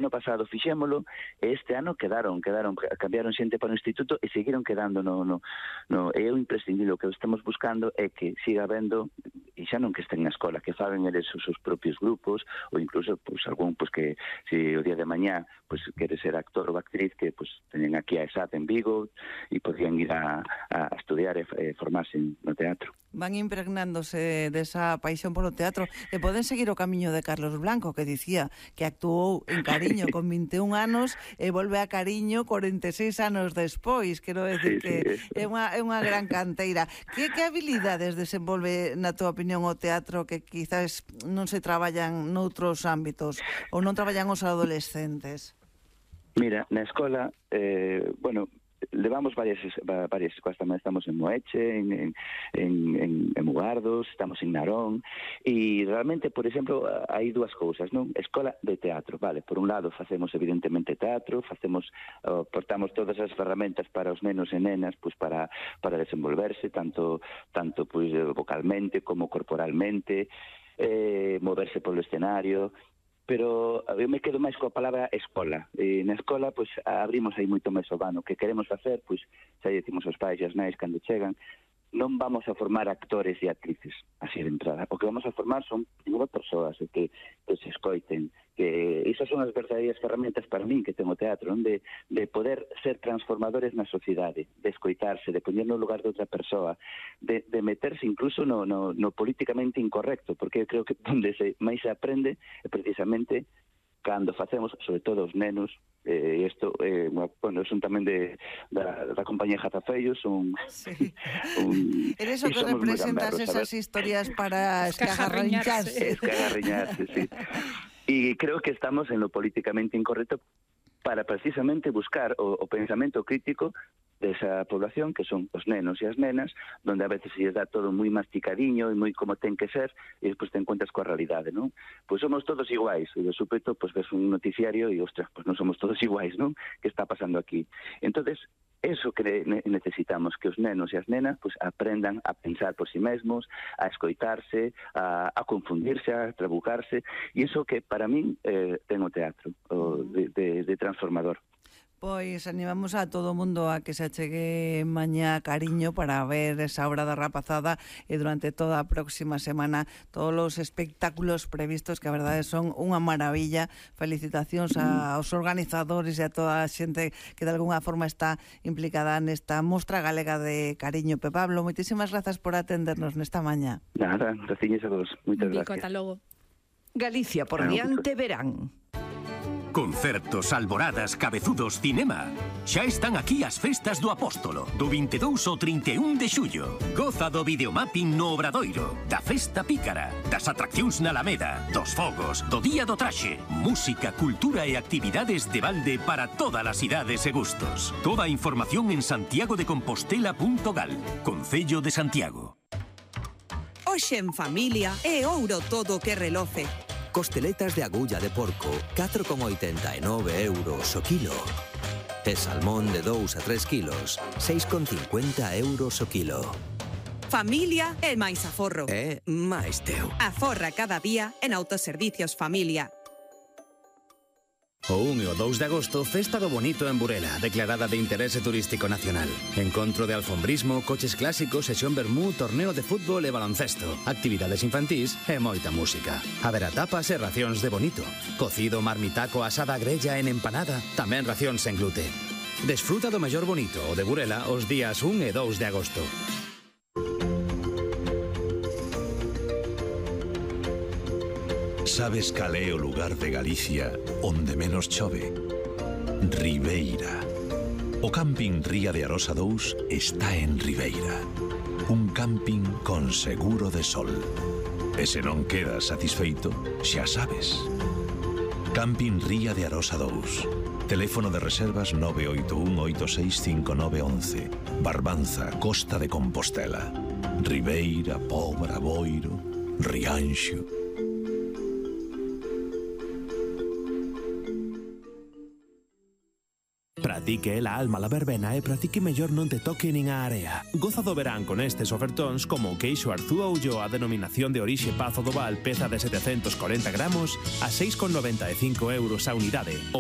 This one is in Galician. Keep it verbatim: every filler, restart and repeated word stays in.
ano pasado fixémolo e este ano quedaron, quedaron, cambiaron xente para o instituto e seguiron quedando no, no, no é o imprescindible. O que estamos buscando é que siga habendo, e xa non que estén na escola, que fagan eles os seus propios grupos, ou incluso pues, algún pues, que se o día de mañá pues, quere ser actor ou actriz, que pues, teñen aquí a ESAT en Vigo e podían ir a, a estudiar e, e formarse no teatro. Van impregnándose desa paixón polo teatro e poden seguir o camiño de Carlos Blanco, que dicía que actuou en Cariño con vinte e un anos e volve a Cariño corenta e seis anos despois. Quero decir Sí, que sí, é unha, é unha gran canteira. Que, que habilidades desenvolve, na tua opinión, o teatro que quizás non se traballan noutros ámbitos ou non traballan os adolescentes? Mira, na escola, eh, bueno, levamos varias varias escolas tamén. Estamos en Moeche, en, en, en, en Mugardos, estamos en Narón, e realmente, por exemplo, hai dúas cousas, non? Escola de teatro, vale, por un lado facemos evidentemente teatro, facemos, uh, portamos todas as ferramentas para os nenos e nenas, pois para para desenvolverse tanto tanto pois vocalmente como corporalmente, eh, moverse polo escenario. Pero eu me quedo máis coa palabra escola. E na escola, pois, abrimos aí moito máis o vano. O que queremos facer, pois, xa decimos aos pais e as nais cando chegan, non vamos a formar actores e actrices, así de entrada. O que vamos a formar son primero persoas que, que se escoiten, que esas son as verdadeiras ferramentas para min que ten o teatro, non? De, de poder ser transformadores na sociedade, de escoitarse, de poñer no lugar de outra persoa, de, de meterse incluso no, no, no políticamente incorrecto, porque eu creo que onde se máis se aprende é precisamente cando facemos, sobre todo os nenos, e eh, isto, eh, bueno, son tamén de, da, da compañía Jatafeio, son... Sí. Un, Eres o que representas esas ¿sabes? Historias para escagarriñarse. Escagarriñarse, sí. E creo que estamos en lo políticamente incorrecto para precisamente buscar o, o pensamento crítico desa población, que son os nenos e as nenas, donde a veces se lles dá todo moi masticadiño e moi como ten que ser, e despois te encuentras coa realidade, non? Pois somos todos iguais, e de súpeto, pois ves un noticiario e, ostras, pois non somos todos iguais, non? Que está pasando aquí? Entonces, eso que necesitamos, que os nenos e as nenas pues, aprendan a pensar por si mesmos, a escoitarse, a, a confundirse, a trabucarse, e iso que para min eh, ten o teatro, o de, de, de transformador. Pois animamos a todo o mundo a que se achegue mañá a Cariño para ver esa obra da rapazada e durante toda a próxima semana todos os espectáculos previstos, que a verdade son unha maravilla. Felicitacións aos organizadores e a toda a xente que de alguna forma está implicada nesta mostra galega de Cariño. Pe Pablo, moitísimas grazas por atendernos nesta mañá. Nada, graciñas a vos. Moitas gracias. Ata logo. Galicia por diante verán. Concertos, alboradas, cabezudos, cinema. Xa están aquí as festas do Apóstolo, do vinte e dous ao trinta e un de xullo. Goza do videomapping no Obradoiro, da festa pícara, das atraccións na Alameda, dos fogos, do Día do Traxe. Música, cultura e actividades de balde para todas as idades e gustos. Toda a información en santiago de compostela punto gal, Concello de Santiago. Hoxe en familia é ouro todo o que reloce. Costeletas de agulla de porco, catro con oitenta e nove euros o kilo. E salmón de dous a tres kilos, seis con cincuenta euros o kilo. Familia é máis aforro. É máis teu. Aforra cada día en Autoservicios Familia. O un e o dous de agosto, Festa do Bonito en Burela, declarada de interese turístico nacional. Encontro de alfombrismo, coches clásicos, sesión vermú, torneo de fútbol e baloncesto, actividades infantís e moita música. Haberá tapas e racións de bonito. Cocido, marmitaco, asada grella en empanada, tamén racións en glute. Desfruta do mellor bonito o de Burela os días un e dous de agosto. Sabes cal é o lugar de Galicia onde menos chove? Ribeira. O camping Ría de Arosa dous está en Ribeira. Un camping con seguro de sol. E se non quedas satisfeito, xa sabes. Camping Ría de Arosa dous. Teléfono de reservas nove oito un oito seis cinco nove once. Barbanza, Costa de Compostela. Ribeira, Pobra, Boiro, Rianxo. Para ti que é la alma la verbena e para ti que mellor non te toque nin a area. Goza do verán con estes ofertóns como o queixo Arzúa Ulloa a denominación de orixe Pazo do Val peza de setecentos corenta gramos a seis con noventa e cinco euros a unidade.